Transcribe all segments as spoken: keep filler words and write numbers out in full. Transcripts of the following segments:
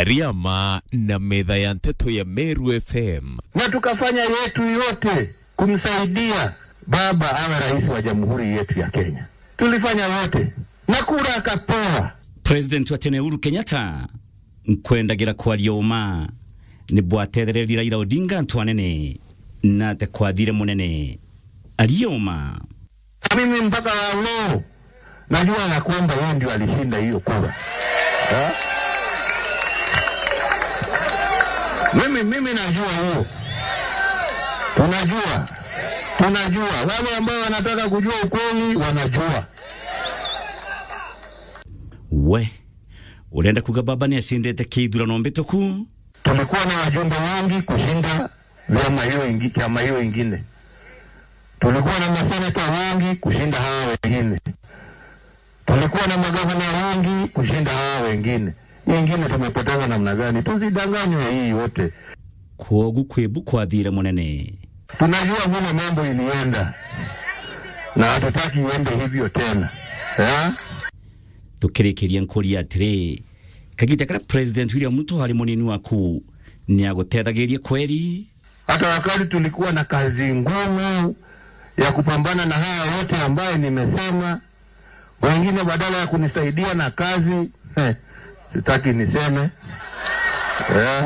Riama na metha ya nteto ya Meru F M. Na tukafanya yetu yote kumsaidia baba awe rais wa jamhuri yetu ya Kenya. Tulifanya yote. Na kura akapewa. President wa tene Uhuru Kenyatta, nkwendagira kwaria uma, ni bwatethererie Raila Odinga antu anene, na ate kwathire munene. Aria uma. Mimi mpaka wa leo najua ya kwamba yeye ndio alishinda hiyo kura. Ha? Mimi, mimi najua hiyo. Tunajua. Tunajua. Wale ambao wanataka kujua ukweli, wanajua. We, urenda kuga baba ni acindite kithurano mbituku? Tulikuwa na wajumbe wengi kushinda vyama hiyo ingi-, chama hiyo ingine. Tulikuwa na maseneta wengi kushinda hawa wengine. Tulikuwa na magavana wengi kushinda hawa wengine. Hii ingine tumepoteza namna gani? Tusidanganywe hii yote. Kwogu kwibu kwathire munene. Tunajua vile mambo ilienda. Na hatutaki iende hivyo tena. Eh? Tukirikiria nkuria atiri, kagita karia President William Ruto ari munini waku, ni agutethagiria kweri? Hata wakati tulikuwa na kazi ngumu ya kupambana na haya yote ambaye nimesema, wengine badala ya kunisaidia na kazi, eh, sitaki niseme. Eh.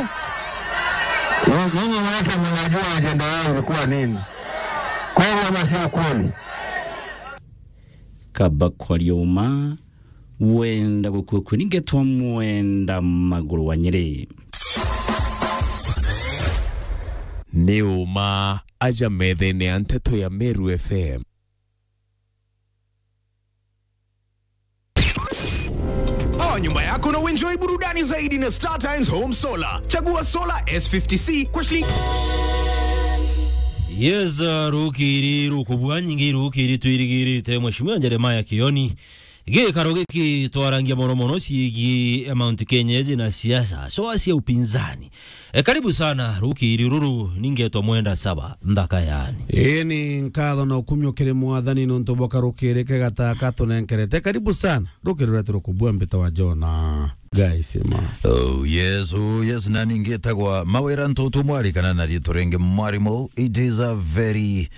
Nyinyi wote mnajua ajenda yao ilikuwa nini. Kweli ama sio kweli? Kaba kwaria uma, wenda gukua kwe ningetwa mwenda maguru wa Nyeri. Ni uma aja methene ya nteto ya Meru F M. Power nyumba yako na uenjoy burudani zaidi na Star Times Home Solar. Chagua solar S fifty C kwa shilingi. Yes, uh, rukiri rukubwa nyingi rukiri twirigirite Mheshimiwa Jeremiah Kioni. Gikaro giki twarangia mono mono ciigi Mount Kenya iji na siasa, soa cia upinzani. E, karibu sana, rukiri ruru, ningetwa Mwenda Saba, nthaka yani. Ii ni nkatho na ukumio kiri Mwathani nontu bwa karukiri kega taka tunenkerete. Karibu sana, rukiri rwetu rukubua mbita wa Jona. Guys, ma. Oh, yes, oh, yes, na ningitagwa Mawira Ntutu Mwari kana na riitwa ringi Mwarimu. It is a very,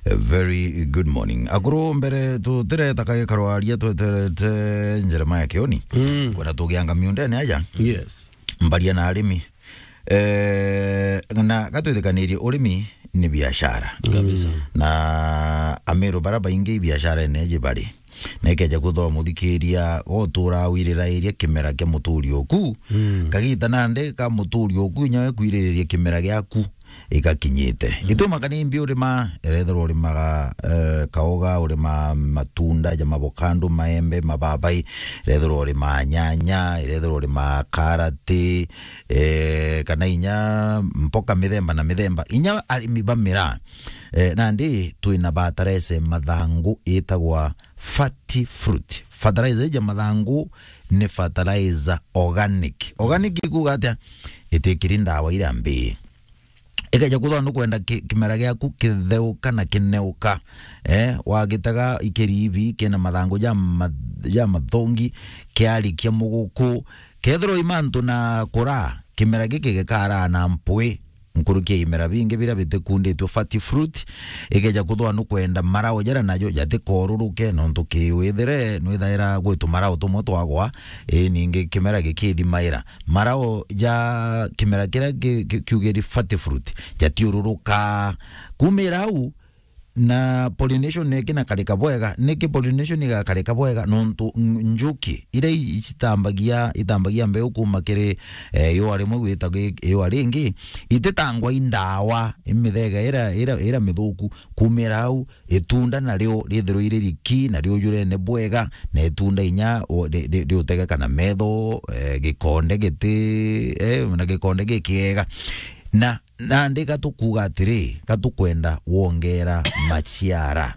a very good morning. Akuru mbere tutireta kagikaro aria tweterete Jeremiah Kioni. Mm. Kwenda tugianga miundene aja. Yes. Mbaria na arimi. Eh, na gatwithikanirie urimi ni biashara. Kabisa. Na Amiru bara baingi biashara ene ji bari. Na ikeja kwithwa muthikiria gotura wirira iria kimera kia muturi oku. Mm. Kagita nandi ka muturi oku inya we kwiririria kimera giaku igakinyite. Mm. Ituma kani mbi urima, irethirwa urimaga, eh, kaoga, urima matunda ja mavokando, maembe, mababai, irethirwa urima nyanya, irethirwa urima karati, eh, kana inya mboka mithemba na mithemba. Inya arimi ba miraa, eh, nandi twina batarese mathangu itagwa Fati Fruit. Fertilizer ija mathangu ni fertilizer organic. Organic ikuuga atia? Itikiri ndawa iria mbii. Ikeja kwithwa nukwenda ki-, kimera giaku kitheuka na kineuka. Eh, wagitega ikiribi kina mathangu ja ma-, ja mathongi, kiarikia muguku. Kethirwa i mantu na kura, kimera giki gikaraa na mpwi. Nkuruki ya imera bingi biria bitikunditwe Fati Fruit, ikeja kwithwa nukwenda marao jaria najo jatikooruruke, nontu kiwithire nwithaira gwi tumarao tumwe twagwa, ii ningi kimera gikithimaira. Marao ja kimera kiria ki-, ki-, kiugiri Fati Fruit jatiururuka. Kumira au, na pollination niki na karika bwega, niki pollination igakarika bwega, nontu n-, njuki iria i-, itambagia, itambagia mbeu kuma kiri, eh, yua rimwe gwita gi-, yua ringi, ititangwa i ndawa, i mithega ira, ira, ira mithuku. Kumira au, itunda nario rithirwe iri riki, na riujurene bwega, na itunda inya u-, ri-, ri-, riutegeka na metho, eh, gikonde giti, eh, na gikonde gikiega. Na Nandi gatukuuga atiri, gatukwenda wongera maciara,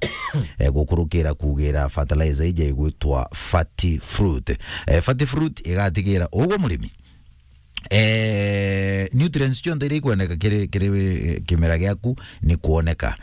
eh, gukurukira kuugira fertilizer ija igwitwa Fati Fruit. Eh, Fati Fruit igatigira ugwe murimi, eh, nutrients cionthe iria ikwendeka kiri, kiri wi-, kimera giaku ni kwoneka.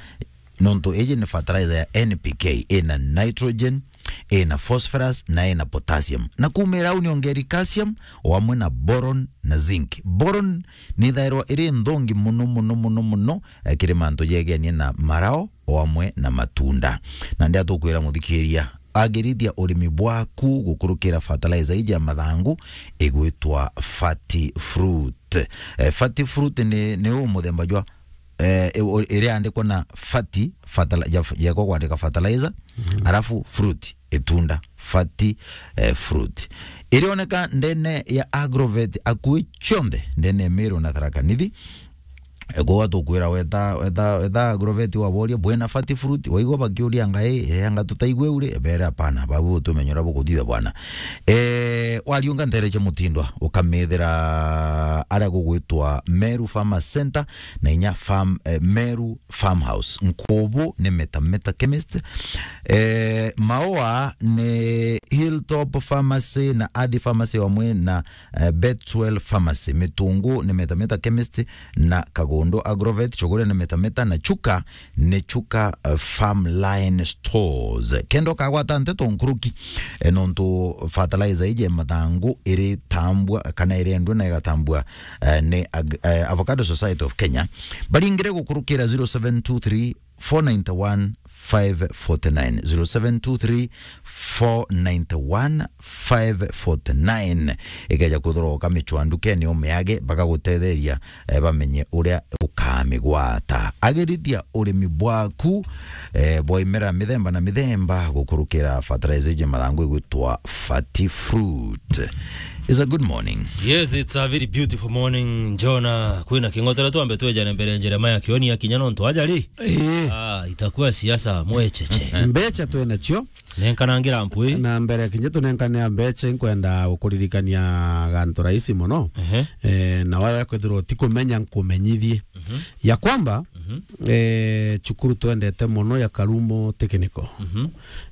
Nontu iji ni fertilizer ya N P K, ina nitrogen, ina phosphorus na ina potassium. Na kuumira au niongeri calcium o amwe na boron na zinc. Boron ni ithairwa iri nthongi muno, muno, muno, muno, eh, kiri mantu jegenie na marao o amwe na matunda. Na ndia tukwira muthikiria, agirithia urimi bwaku gukurukira fertilizer iji ya mathangu igwitwa Fati Fruit. Eh, Fati Fruit ni, ni u muthemba jwa, eh, i-, u-, iria yandikwa na Fati, fertili-, ya, ya kwandika fertilizer, mhm, arafu fruit, itunda, Fati, eh, Fruit. Irioneka ndene ya Agrovet akui cionthe, ndene ya Meru na Tharaka Nithi. Kwa tukwira weta, weta, weta Agrovet waboria, "Bwina Fati Fruit?" Waigua bakiuria ngai, "Eh, anga tutaigwe uri?" Bere, "Hapana, babu tumenyora bukuthitha bwana." Eh, wariunga ntere cia mutindwa, ukamethira aria gugwitwa Meru Farmers Center na inya farm, eh, Meru Farmhouse. Nkubu ni Meta Meta Chemist. Eh, Maua ni Hilltop Pharmacy na Athi Pharmacy wamwe na eh, Betwell Pharmacy. Mitungu ni Meta Meta Chemist na Kagondo Agrovet. Chogoria ni Meta Meta na Chuka ni Chuka, eh, Farmline Stores. Kenda ukagwata nteto nkuruki, eh, nontu fertilizer iji ya mathangu iri tambua kana irendwa na igatambua, eh, ni Ag-, eh, Avocado Society of Kenya. Baringire gukurukira zero seven two three four nine one five forty nine, zero seven two three four nine one five forty nine. Ikeja kwithirwa ukamichwa ndukene umeage, bakagutetheria, eh, bamenye uria ukamigwata. Agirithia urimi bwaku, eh, bwa imera mithemba na mithemba gukurukira fertilizer iji mathangu igwitwa Fati Fruit. It's a good morning. Yes, it's a very beautiful morning, Jona. Kwina king'otera twambe twejane mbere Jeremiah Kioni akinya nontu aja ri? Eh. Ah, itakuwa siasa mwecheche. Mbecha twina cio. Nenkanangira mpwi. Na mbere kinya tunenkanea mbecha, nkwenda gukuririkania gantu rahisi muno. Ehe. Eh, na wewe kwithirwa utikumenya, nkumenyithie. Mhm. Ya kwamba, mhm, eh, cukuru twendete muno ya Karumo Technical. Mhm.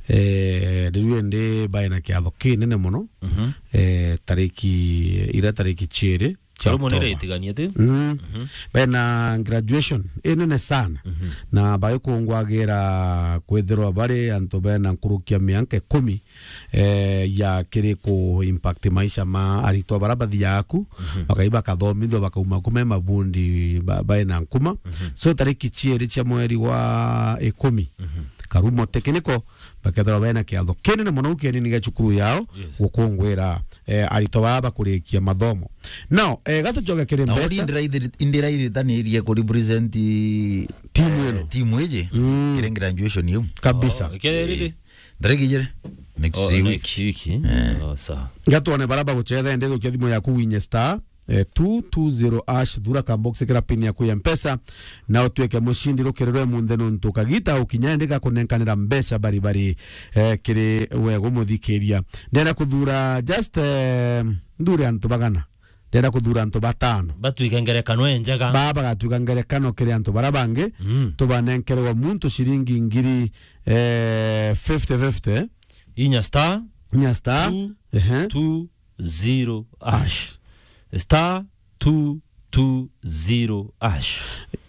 Eh, riu indi baina kiatho kinene muno. Mhm. Eh, tariki, ira tariki ciiri cia Karumo Oktoba. Nire itiganie ti? Mm. Mhm. Bena graduation inene sana. Mhm. Na baikungwagira kwithirwa bari antu bena nkuruki ya mianka ikumi, eh, ya kiri ku impact maisha ma aritwa bara bathiaga ku, mhm, bakai bakathomithua, bakauma kuma mabundi ba-, baina nkuma. Mhm. So, tariki ciiri cia mweri wa ikumi, mhm, Karumo Technical, bakethirwa bena kiatho kinene muno kienini gia cukuru yao, yes, gukungwira, eh, aritwa baa bakurikia mathomo. Now, eh, gatucoke kiri na mbecha. Indi raithiri-, indi raithitanirie ku represent timu ino, eh, timu iji, mm, kiri graduation iu. Kabisa. Oh, ikeri ri? Ndariki ijiri? Next week. Oh, next week, eh? Eh. Oh, sawa. Gatwone bara bagucetha, ende thukia thimu yaku winye star, eh, two two zero hash, thura ka box kira pin yaku ya Mpesa, na utwike mushindi rukirirwe munthe nontu kagita ukinya ende gakunenkanira mbecha bari bari, eh, kiri we gumuthikiria. Ndenda kuthura just, eh, nthure antu bagana. Ndenda kuthura antu batano. Batwike ngerekano enjega. Ba bagatwika ngerekano kiri antu bara bangi. Mm. Tubanenkere wa muntu ciringi ngiri, eh, fifty fifty. Inya star. Inya star. Two, ehe, two zero hash. Hash. Star two two zero hash.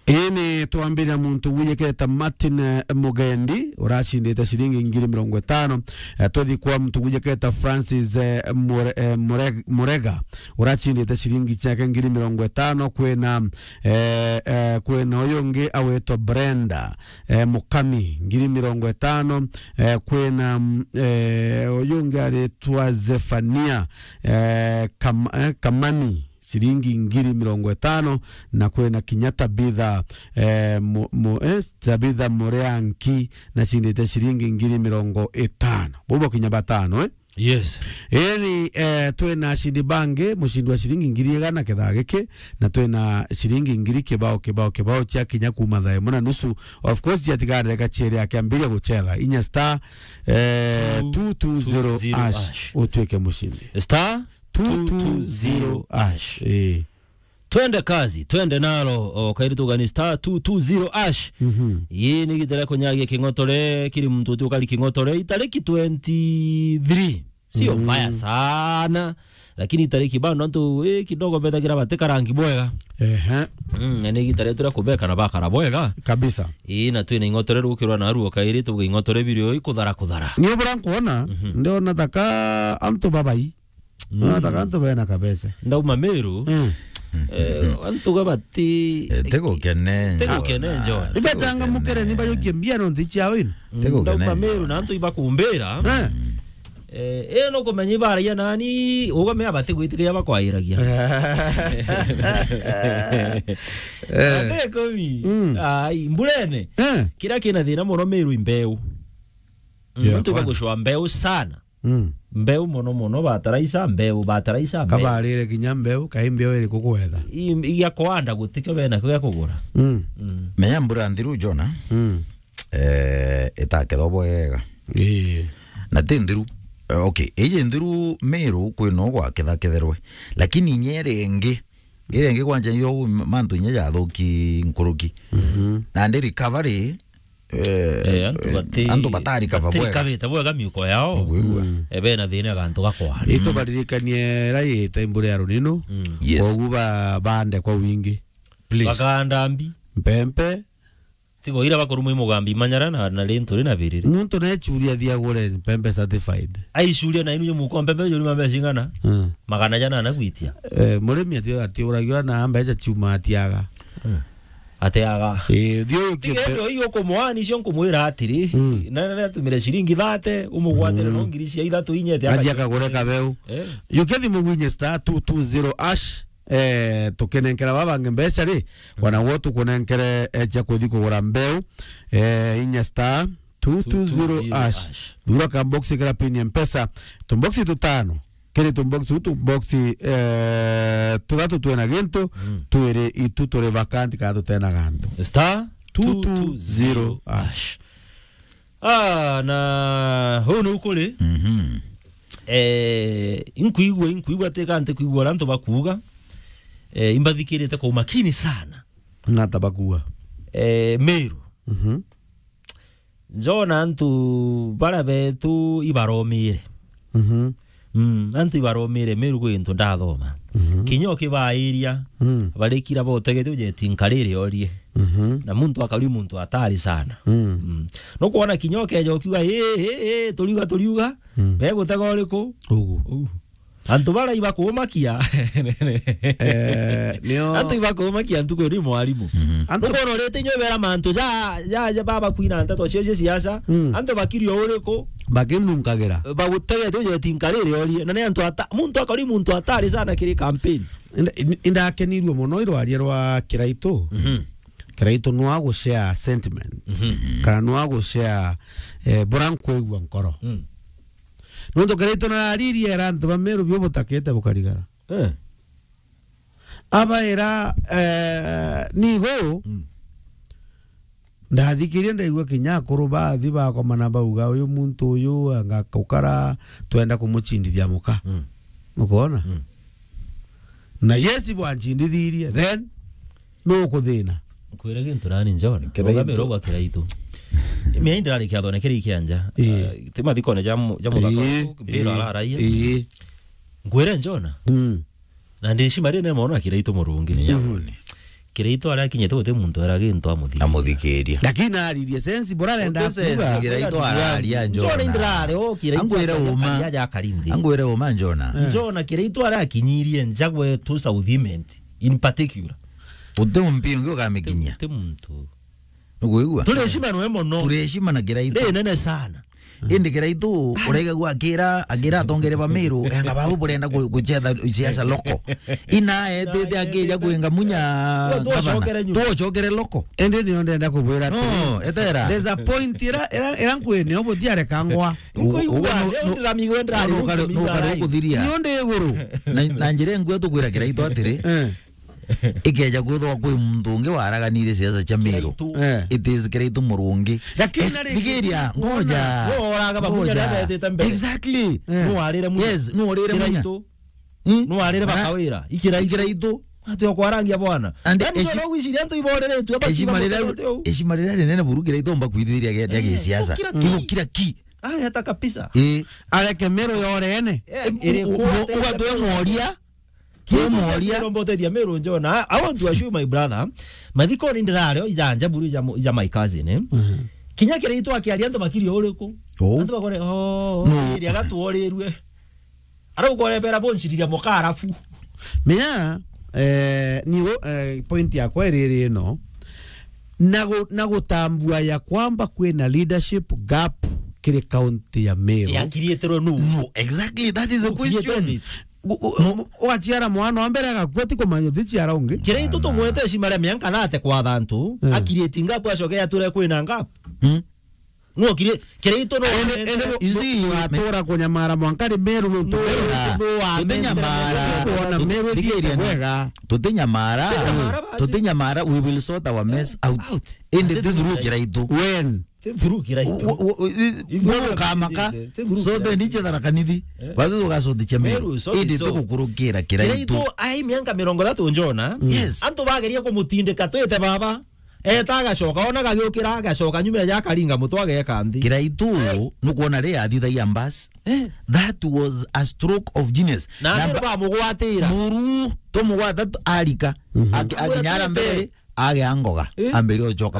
Ini twambiria muntu wijiketa Martin, eh, Mugendi, uracindite ciringi ngiri mirongo itano. Eh, tuthi kwa muntu wijiketa Francis, eh, Mure-, eh, Mure-, Murega, uracindite ciringi ciake ngiri mirongo itano. Kwina, eh, eh, kwina uyu ungi awitwa Brenda, eh, Mukami, ngiri mirongo itano. Eh, kwina, mm, eh, uyu ungi aritwa Zefania, eh, Kam-, eh, Kamani, ciringi ngiri mirongo itano, na kwina kinya Tabitha, eh, mu-, mu-, eh, Tabitha Mureanki, na cindite ciringi ngiri mirongo itano. Bubo kinya batano, eh? Yes. Eni, eh, twina acindi bangi, mucindi wa ciringi ngiri igana kithaa giki, na twina ciringi ngiri kibao, kibao, kibao cia kinya kuma thaa imwe na nusu. Of course, ciatigarire gachiere akiambiria gucetha. Inya star, eh, two two zero hash, utwike mucindi. Star two two zero hash. Eh. Twende kazi, twende nalo, o, kairi tugani star two two zero hash. Mhm. Ii ni gitara kunyagia king'otore, kiri muntu uti ukari king'otore, itariki twenty-three. Sio mbaya sana. Lakini itariki bado antu, eh, kidogo betagira bati karangi bwega. Ehe. Mm, na ni igita rietu ria kubeka na bakara bwega. Kabisa. Ii, na twina ing'otore rukirwa na aruo kairi, tuge ing'otore birio ikuthara kuthara. Ni ubura nkuona, mhm, ndiona taka antu babai. Mm. Ndiona taka antu bena kabese. Ndauma Meru. Mm. Eh, antu ga bati Eh, tigukene njo. Tigukene njo. Ibachangamukire ni bayukie mbia no nthi ciao ino. Tigukene njo. Ndauma Meru na antu ibakumbira. Eh. Eh, eh, no kumenya ibaragia nani, ugamea bati gwitikia bakwairagia. Eh. Ate kumi. Mm. Ai, mburene. Eh. Kiria kina thina muno Meru imbeu. Mm. Yeah, antu kwa- bagucwa mbeu sana. Mm. Mbeu muno muno, bataraisa, mbeu, bataraisa, mbeu. Kabarire kinya mbeu, kai mbeu iriku kwetha? I-, i-, gia kwanda gutikio bena kio gia kugura. Mm. Mm. Menya mbura nthiru, Jona. Mm. Eh, itakethwa bwega. Ii. Na ti nthiru. Eh, okay, iji nthiru Meru kwina ugwakethaketherwe. Lakini inya iria ingi, iria ingi kwanja yo mantu inya jathuki nkuruki. Mhm. Na ndi recovery, eh, Eh, antu eh, bati-, antu batari kaba bati bwega. Kabite bwega miuko yao. Ugwigua. Mm. Eh, bena thina gantu gakwari. Itubaririkanie raite mbura ya runinu. Mm. Yes. Koguo ba-, bande kwa wingi. Please. Bakanda mbi. Mpempe. Tigo ira bakorumwa imugambi manyara na, na ri nturi na biriri. Muntu nechuria thiagure mpembe certified. Aichuria na inu muko mpembe juri mambe cingana? Mm. Magana jana na gwitia. Eh, murimi ati, atiuragio na mbeca chuma atiaga. Mm. Atiaga. Eh, thio Tiga kio ndo iyo kumwani cio nkumwira atiri, mm, na, na, na tumire ciringi thate, umugwatire, mm, no ngiri cia ithatu inyete. Aja akagure kabeu. Eh. Yuke thimu gwinye star two two zero hash. Eh, tukinenkera baba bangi mbeca ri, wana gwo tukunenkere, eh, cia kuthi kugura mbeu, eh, inya star two two zero hash. Thura ka box kira pin ya Mpesa. Tumboxi tutano. Kiri tumboxi tu, tumboxi, eh, tuthatu twina gintu, mm, twiri itu turi vacant kana tutena gantu. Star two two zero hash. Ah, na huu ni ukuri. Mhm. Eh, inkuigua, inkuigua teka nti kuigua uria antu bakuuga. Eh, imbathikirite kwa umakini sana. Nata bakuuga? Eh, Meru. Mhm. Njona antu baria betu ibaromire. Mhm. Mm, antu ibaromire Meru kwi into ndathoma. Mhm. Kinya ukibairia, mm, barikira botegete ujeti nkariri orie. Mhm. Na muntu akari muntu atari sana. Mm. Mm. No kuona kinya ukeja ukiuga, "Ii, ii, ii, turiuga, turiuga." Mm. Begutega uriku? Ugu. Ugu. Antu bara ibakumakia. Eh, nio. Antu ibakumakia ntuku ni mwarimu. Mhm. Antu nukono rete nyo bera mantu ja, ja, ja baba kwina nteto cio cia siasa. Mm. Antu bakirio uriku? Bakimunkagira. Bagutegete ujeti nkariri orie. Na ni antu ata, muntu akari muntu atari sana kiri campaign. Inda-, in-, indakenirue muno irwaria rwa Kiraitu. Mhm. Kiraitu nwa gushare sentiment. Mhm. Kana nwa gushare, eh, bura nkwigua nkoro. Mm. Nontu Kiraitu nararirie era antu ba Meru bio butakite bukarigara. Eh. Abaira, eh, nigo, mm, ndathikirie ndaigua kinya akuru bathi bakomana bauga, "Uyu muntu uyu anga ukara twenda kumuchindithia muka." Mm. Nukwona? Mm. Na yes, bwanchindithirie, then nukuthina. Nkwire gintu nani John. Kiraitu. Rugamira ugwa Kiraitu. Mia indirari kiathone kiri kianja. Ii. Ah, ti mathikone ja mu-, ja muthaka. Ii, uu, mbira ii, araraia. Ii. Nkwire John. Mm. Na ndicima ri ne mwana Kiraitu murungi. Ni yabone. Kiraitu aria akinyite guti muntu era gintu amuthikiria. Amuthikiria. Lakini aririe sense, bora arenda kuuga. Kiraitu araria John. John ndirare o Kiraitu. Angwire uma. Aja akarinthi. Angwire uma John. Eh. John Kiraitu aria akinyirie nja gwetu South Imenti in particular. Uti umpi ungi ukamikinyia. Uti muntu. Nukwigua? Turi heshima nwe mono. Turi heshima na Kiraitu. Ri nene sana. Indi Kiraitu uraigagua akira, akira atongere ba Meru, enga babu burenda ku-, kuchetha siasa loko. Ina etete akija kwinga munya gavana. Tuocokere nyuma. Tuocokere loko. Indi nio ndenda kubwira atiri. No, etera. There's a point ira, ira, ira nkwine, obo tiarekangwa. Ugo, ugo, no, no, ndirami gwendera no, ri, nukare, nukare ukuthiria. Nio ndi iguru. Na, na njira ingwe tukwira Kiraitu atiri. Eh. Ikeja kwithwa kwi muntu ungi waraganire siasa cia Meru. Kiraitu. Eh. It is Kiraitu murungi. Lakini nari thigiria, ngoja. No oraga ba munya. Ngoja. Nabetete mbere. Exactly. Eh. No arire munya. Yes, no arire munya. Kiraitu. Hmm? No arire bakawira. Ikiraitu. Ikiraitu. Ati okwarangia bwana. And yani eshi-, no gwiciria antu iboreretwe, aba eshima rira, eshima rira rinene buru Kiraitu omba kwithiria gia, gia gisiasa. Kira ki. Kira ki. Ageta kabisa. Eh, areke Meru yorene. Eh, iri u-, u-, kwate ugatwe moria. Kitu kia moria. Kirombotethia Meru Njona. I want to assure my brother. Mathikoni ndirario ijanja buru ija mo-, ija my cousin, eh. Mhm. Kinya Kiraitu akiaria antu makiri uriku. Oh. Antu bakore, "Oh, no. Iri agatworirue." Ara ukorebera boncirithia mukarafu. Menya, eh, ni u-, eh, point yakwa iriri ino. Na gu-, na gutambua ya kwamba kwina leadership gap kiri county ya Meru. Yakirieterwe nu? No, exactly, that is the question. Gu-, gu-, ugaciara mwana wa mbere agakua, ti kumanya uthiciara ungi. Kiraitu tumwete cima ria mianka thate kwa thantu, eh, akiriti ngapu acoke ature kwina ngapu. Mm. No kire-, Kiraitu no ene, ene, you see, ugatura kunyamara mwanka ri Meru nuntu no, Meru. Ah, no, tutinyamara. Kuona Meru thikiria na wega. Tutinyamara. Tutinyamara, we will sort our mess out. Out. Indi ti through Kiraitu. When? Ti through Kiraitu. U-, u-, u-, i-, ithuĩ no kamaka. Ti through Kiraitu. Sote ni chetha na kanithi. Eh. Bathu tugacothi cha Meru. Meru, sote. Indi so tugukurukira Kiraitu. Kiraitu ai mianka mirongo ithatu Njona. Yes. Antu bageria kumutindika twite baba. Eta agacoka, ona gagiukira, agacoka nyuma ya akaringa mutwe ageka nthi. Kiraitu, nukwona ri athithagia mbasi? Eh. That was a stroke of genius. Na na andu ba- bamugwatira. Muru, tumugwata tu-, arika. Mhm. Aki-, akinyara mbere, age angoga. Eh. Ambere ucoka.